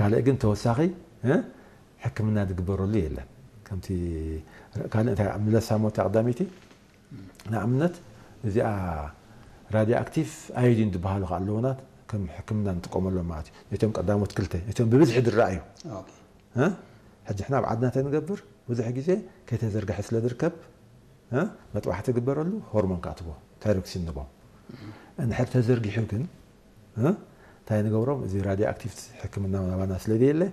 ካልእ ግን ተወሳኺ ሕክምና ዝግበረሉ የለን። ከምቲ ካልእ እንታይ ምለሳ ሞታ ቀዳመይቲ ንኣብነት እዚኣ ራድዮ ኣክቲቭ ኣዮዲን ዝበሃሉ ከ ኣለውናት ከም ሕክምና ንጥቀመሎም ማለት እዩ። ነቶም ቀዳሞት ክልተ ነቶም ብብዝሒ ዝረኣዩ ሕጂ ሕና ኣብ ዓድና እንታይ ንገብር ብዙሕ ግዜ ከይተዘርግሐ ስለ ዝርከብ መጥባሕቲ ግበረሉ ሆርሞን ከኣትዎ ታይሮክሲን ንቦ እንድሕር ተዘርጊሑ ግን እንታይ ንገብሮም እዚ ራድዮ ኣክቲቭ ሕክምና ናባና ስለ ዘየለ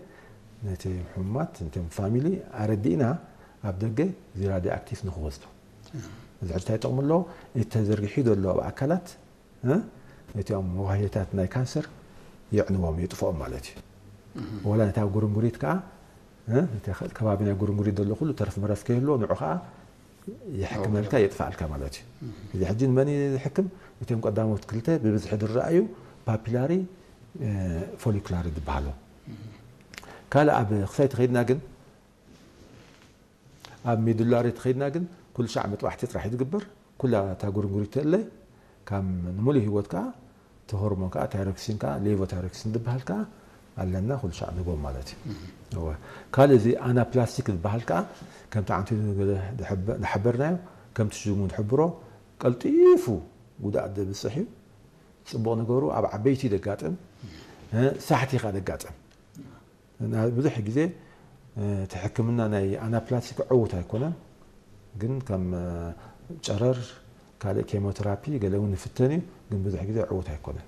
ነቲ ሕሙማት ነቶም ፋሚሊ ኣረዲእና ኣብ ደገ እዚ ራድዮ ኣክቲቭ ንክወስዱ እዚ ሕጂ እንታይ ይጠቕሙ ኣለዎ እቲ ተዘርጊሑ ዘሎ ኣብ ኣካላት ነቲኦም መዋህዮታት ናይ ካንሰር የዕንዎም የጥፍኦም ማለት እዩ ወላ ነታ ጉርንጉሪት ከዓ እቲ ከባቢ ናይ ጉርንጉሪት ዘሎ ኩሉ ተረፍ መረፍ ከይህልዎ ንዑ ከዓ ይሕክመልካ የጥፋልካ ማለት እዩ እዚ ሕጂ ንመን ይሕክም እቶም ቀዳሞት ክልተ ብብዝሒ ዝረኣዩ ፓፒላሪ ፎሊኩላሪ ዝበሃሉ ካልእ ኣብ ክሳይ ተኸይድና ግን ኣብ ሚዱላሪ ተኸይድና ግን ኩሉ ሻዕ መጥባሕቲ ጥራሕ ዝግበር ኩላ እታ ጉርንጉሪት ተለ ካብ ንሙሉእ ህይወት ከዓ እቲ ሆርሞን ከዓ ታይሮክሲን ከዓ ሌቮታይሮክሲን ዝበሃል ከዓ ኣለና ኩሉ ሻዕ ንቦም ማለት እዩ ካልእ እዚ ኣናፕላስቲክ ዝበሃል ከዓ ከምቲ ዓንቱ ዝሓበርናዮ ከምቲ ሽሙ ዝሕብሮ ቀልጢፉ ጉድኣት ዘብፅሕ እዩ ፅቡቕ ነገሩ ኣብ ዓበይቲ ደጋጥም ሳሕቲ ከዓ ደጋጥም ብዙሕ ግዜ እቲ ሕክምና ናይ ኣናፕላስቲክ ዕዉት ኣይኮነን ግን ከም ጨረር ካልእ ኬሞቴራፒ ገለ እውን ንፍተን እዩ ግን ብዙሕ ግዜ ዕዉት ኣይኮነን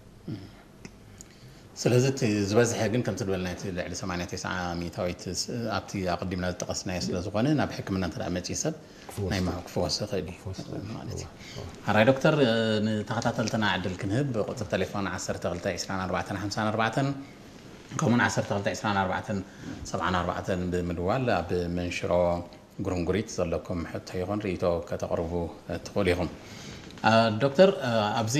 ስለዚ እቲ ዝበዝሐ ግን ከምቲ ዝበልና እቲ ልዕሊ 89 ሚእታዊት ኣብቲ ኣቐዲምና ዝጠቐስናዮ ስለ ዝኾነ ናብ ሕክምና እንተ መፅኡ ሰብ ናይ ምሕኩ ክፈወስ ይኽእል እዩ ማለት እዩ ሓራይ ዶክተር ንተኸታተልትና ዕድል ክንህብ ቁፅር ቴሌፎን 12 24 ከምኡን 12 24 74 ብምድዋል ኣብ መንሽሮ ጉርንጉሪት ዘለኩም ሕቶ ይኹን ርእቶ ከተቕርቡ ትኽእሉ ኢኹም ዶክተር ኣብዚ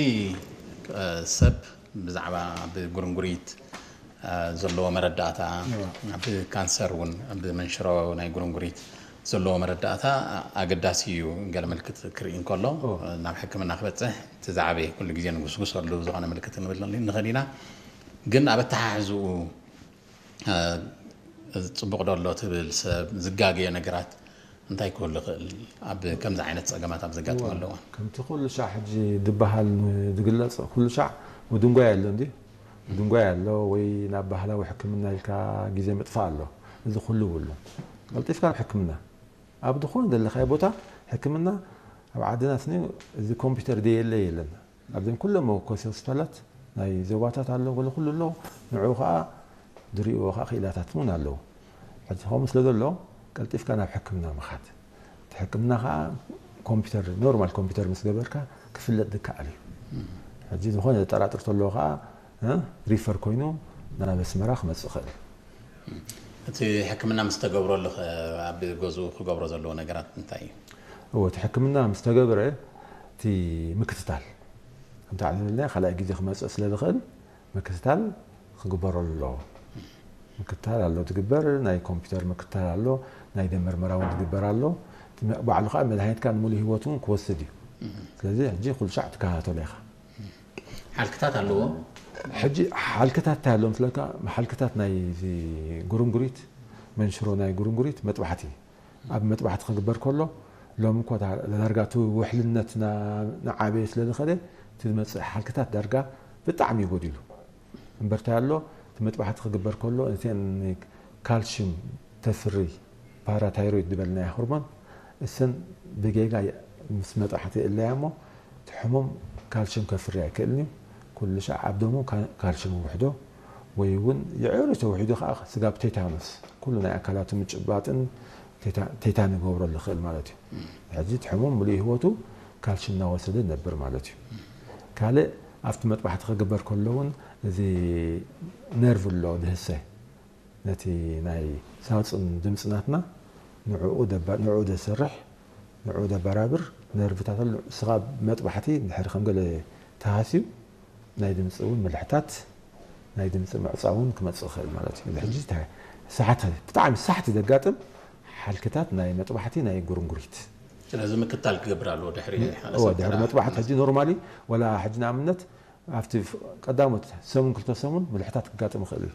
ሰብ ብዛዕባ ብጉርንጉሪት ዘለዎ መረዳእታ ብካንሰር እውን ብመንሽሮ ናይ ጉርንጉሪት ዘለዎ መረዳእታ ኣገዳሲ እዩ ገለ ምልክት ክርኢ እንከሎ ናብ ሕክምና ክበፅሕ እቲ ዝዓበየ ኩሉ ግዜ ንጉስጉሰሉ ዝኾነ ምልክት ንብል ንኽእል ኢና ግን ኣብ ኣተሓሕዝኡ ፅቡቕ ዶ ኣሎ ትብል ሰብ ዝጋገዮ ነገራት እንታይ ክህሉ ይኽእል ኣብ ከምዚ ዓይነት ፀገማት ኣብ ዘጋጥመሉ እዋን ከምቲ ኩሉ ሻዕ ሕጂ ዝበሃል ዝግለፅ ኩሉ ሻዕ ምድንጓይ ኣሎ እንዲ ምድንጓይ ኣሎ ወይ ናብ ባህላዊ ሕክምና ኢልካ ግዜ ምጥፋእ ኣሎ እዚ ኩሉ ይብሉ ቀልጢፍካ ናብ ሕክምና ኣብ ዝኾነ ዘለኻዮ ቦታ ሕክምና ኣብ ዓድና ስኒ እዚ ኮምፒውተር ደየለ የለን ኣብዘን ኩሎም መወከሲ ሆስፒታላት ናይ ዞባታት ኣሎ ገለ ኩሉ ኣሎ ንዕኡ ከዓ ዝሪእዎ ከዓ ክኢላታት እውን ኣለዉ ሕጂ ከምኡ ስለ ዘሎ ቀልጢፍካ ናብ ሕክምና ምኻድ እቲ ሕክምና ከዓ ኮምፒውተር ኖርማል ኮምፒውተር ምስ ገበርካ ክፍለጥ ዝከኣል እዩ ሕጂ ዝኾነ ዘጠራጥር ተለዎ ከዓ ሪፈር ኮይኑ ናብ ኣስመራ ክመፅእ ይኽእል እቲ ሕክምና ምስ ተገብረሉ ኣብ ገዝኡ ክገብሮ ዘለዎ ነገራት እንታይ እዩ እዎ እቲ ሕክምና ምስ ተገብረ እቲ ምክትታል ከምቲ ዓለምልና ካልኣይ ግዜ ክመፅእ ስለ ዝኽእል ምክትታል ክግበረሉ ኣለዎ ምክትታል ኣሎ ትግበር ናይ ኮምፒውተር ምክትታል ኣሎ ናይ ደም ምርመራ እውን ትግበር ኣሎ ባዕሉ ከዓ መድሃኒትካ ንሙሉ ህይወት እውን ክወስድ እዩ ስለዚ ሕጂ ኩሉ ሻዕ ትከታተሎ ኢኻ ሓልክታት ኣለዎ ሕጂ ሓልክታት እንታይ ኣለዎም ስለካ ሓልክታት ናይ ጉርንጉሪት መንሽሮ ናይ ጉርንጉሪት መጥባሕቲ ኣብ መጥባሕቲ ክግበር ከሎ ሎም እኳ ዳርጋ እቲ ውሕልነት ንዓበየ ስለ ዝኸደ እቲ ዝመፅእ ሓልክታት ዳርጋ ብጣዕሚ ይጎዲሉ እምበርታይ ኣሎ እቲ መጥባሕቲ ክግበር ከሎ እተን ካልሽም ተፍሪ ፓራታይሮይድ ዝበልናያ ሆርሞን እሰን ብጌጋ ምስ መጥባሕቲ እለያ እሞ እቲ ሕሙም ካልሽም ከፍሪ ኣይክእልን እዩ ኩሉ ሻዕ ኣብ ደሙ ካልሽም ውሕዶ ወይ እውን የዕሩ ተውሒዱ ከዓ ስጋብ ቴታኖስ ኩሉ ናይ ኣካላቱ ምጭባጥን ቴታን ይገብረሉ ይኽእል ማለት እዩ። ሕጂ እቲ ሕሙም ምሉእ ህይወቱ ካልሽም እናወሰደ ይነብር ማለት እዩ። ካልእ ኣብቲ መጥባሕቲ ክግበር ከሎ እውን እዚ ነርቭ ኣሎ ዝህሰ ነቲ ናይ ሳፅን ድምፂ ናትና ንዕኡ ዘሰርሕ ንዕኡ ዘበራብር ነርቭታት ኣሎ። ንስኻ መጥባሕቲ እንድሕር ከም ገለ ተሃስዩ ናይ ድምፂ እውን ምልሕታት ናይ ድምፂ ምዕፃው እውን ክመፅእ ይኽእል ማለት እዩ። ሕጂ ሳሕቲ ብጣዕሚ ሳሕቲ ዘጋጥም ሓልክታት ናይ መጥባሕቲ ናይ ጉርንጉሪት ስለዚ ምክታል ክገብር ኣለዎ ድሕሪ እወ ድሕሪ መጥባሕቲ ሕጂ ኖርማሊ ወላ ሕጂ ንኣብነት ኣብቲ ቀዳሞት ሰሙን ክልተ ሰሙን ምልሕታት ክጋጥም ይኽእል እዩ።